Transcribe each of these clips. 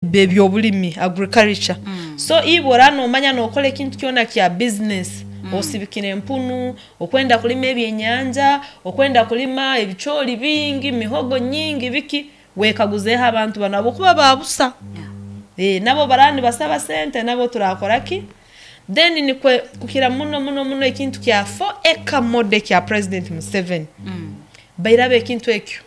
Ebyobulimi, agriculture. So iwe oraba nomanya nokora ekintu kyona kya business, osibikire empunu, okwenda kulima ebyenyanja, okwenda kulima ebicooli bingi, mihogo nyingi, biki, wekaguzeeho abantu banu habwokuba ba busa. Nabo obu baraaba nibasaba sente nabo turakora ki? Then nikwe kukira muno muno muno ekintu kya 4 acre model ekya President Museveni, bairaba ekintu ekyo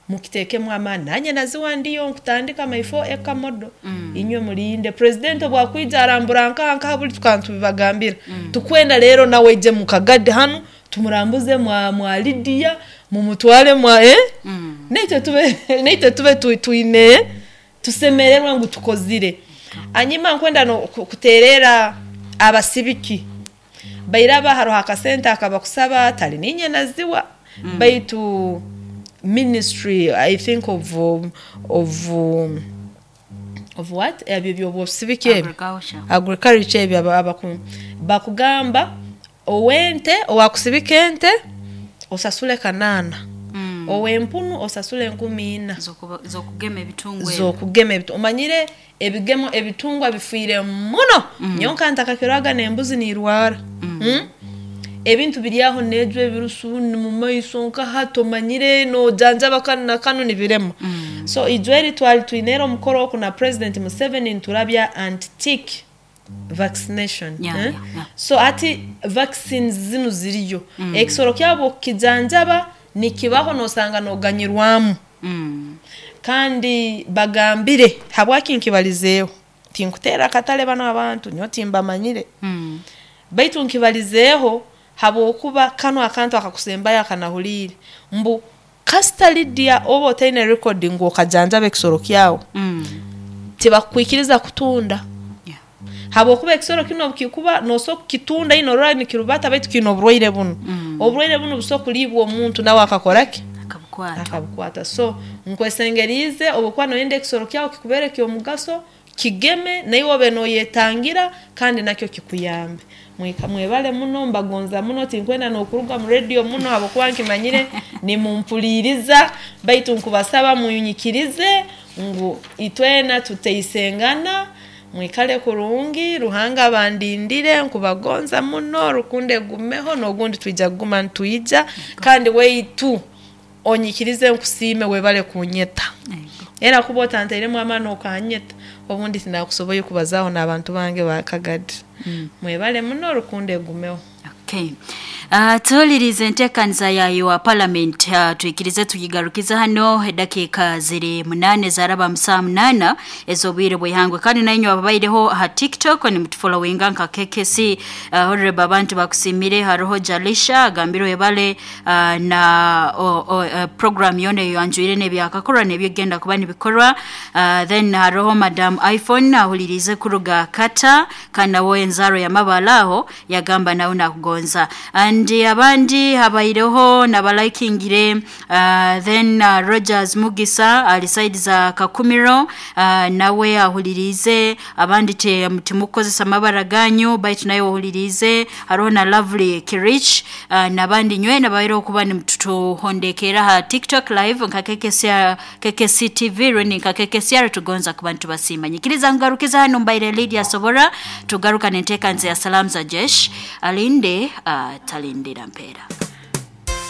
mukitekemu amaani. Nanye naziwa ndiyo nkutandika my 4 acre model. Inywe mulinde President obu akwija arambura nkaha nkaha buli tukaba nitubibagambira. Tukwenda rero nawe aije mu Kagadi hanu tumurambuze mwa Lydia, mumutware mwa naitwe tube naitwe tube twine tusemererwe ngu tukozire. Hanyuma nkwenda kutererra abasibiki, bairaba haroho akasente akabakusaba, tali ninye naziwa, baitu ministry I think of what? Ebi ebyobusibiki ebi, Agriculture. Agriculture ebi bakugamba ow'ente, owaakusibika ente osasule 800, ow'empunu osasule 4,000. Z'okugema ebitungwa ebi. Z'okugema ebitungwa. Omanyire ebigemo ebitungwa bifiire muno, nyowe nka ntakakiroraga n'embuzi niirwara. Ebintu biri aho neejwa ebirusu mu maiso nka hati omanyire noojanjaba kanu na kanu nibirema. So ijweri twali twineere omukoro oku na President Museveni niturabya anti-tick vaccination. So hati vaccines zinu ziriyo. Ekisoro kyawe obu okukijanjaba nikibaho noosanga nooganyirwamu. Kandi bagambire, habwaki nkibalizeeho, tinkuteera akatale banu abantu, nyowe timbamanyire, baitu nkibalizeeho habwokuba kanu akantu akakusembayo akanahuliire, mbu kasita Lydia oba otaine record ngu okajanjaba ekisoro kyawe, tibakukwikiriza kutunda. Habwokuba ekisoro kinu obu kikuba noosobora kukitunda ino norora nikirubata baitu kiine oburwaire bunu. Oburwaire bunu busobora kuliibwa omuntu nawe akakora ki? Akabukwata. Akabukwata. So nkwesengeriize obu okuba noyenda ekisoro kyawe kikubeere ky'omugaso, kigeme naiwe obe nooyetangira kandi nakyo kikuyambe. Mwebale muno, mbagonza muno, tinkwenda n'okuruga mu radio muno habwokuba nkimanyire nimumpuliiriza, baitu nkubasaba munyikirize ngu itwena tuteisengana, mwikale kurungi, Ruhanga abandindire, nkubagonza muno, rukundo egumeho n'ogundi twija kuguma nitwija, kandi waitu onyikirize nkusiime webale kunyeta. Era kuba otantairemu amaani okanyeta, obundi tinakusoboire kubazaaho n'abantu bange ba Kagadi. Mwebale muno, rukundo egumeho. Okay. Tuhulirize enteekaniza ya wa parliament, twikirize tugigarukize hano. Edakiika ziri 8 zaraba mu saaha 8 ez'obwire bw'ihangwe, kandi nainywe ababaireho aha TikTok nimutufollowinga nka KKC, honorable, abantu bakusiimire. Haroho Jalisha agambire webale na program yoona eyanjwire n'ebyakakorwa n'ebyegenda kuba nibikorwa. Then haroho Madam iPhone ahuliriize kuruga Kata, kandi nawe enzaaro y'amabara aho yagamba nawe nakugonza, and abandi habaireho nabalikingire. Then Rogers Mugisa ali side za Kakumiro, nawe ahuliriize. Abandi timukukozesa amabara ganyu, baitu nawe ohuliriize. Haroho na Lovely Kirich, n'abandi nywena baireho kuba nimutuhondekerra ha TikTok live nka KKCR, KKC TV rundi nka KKCR. Tugonza kuba nitubasiima. Nyikiriza ngarukiza hano. Mbaire Lydia Sobora, tugaruka n'enteekaniza ya Salamu za Jesh. Alinde atalindira mpeera.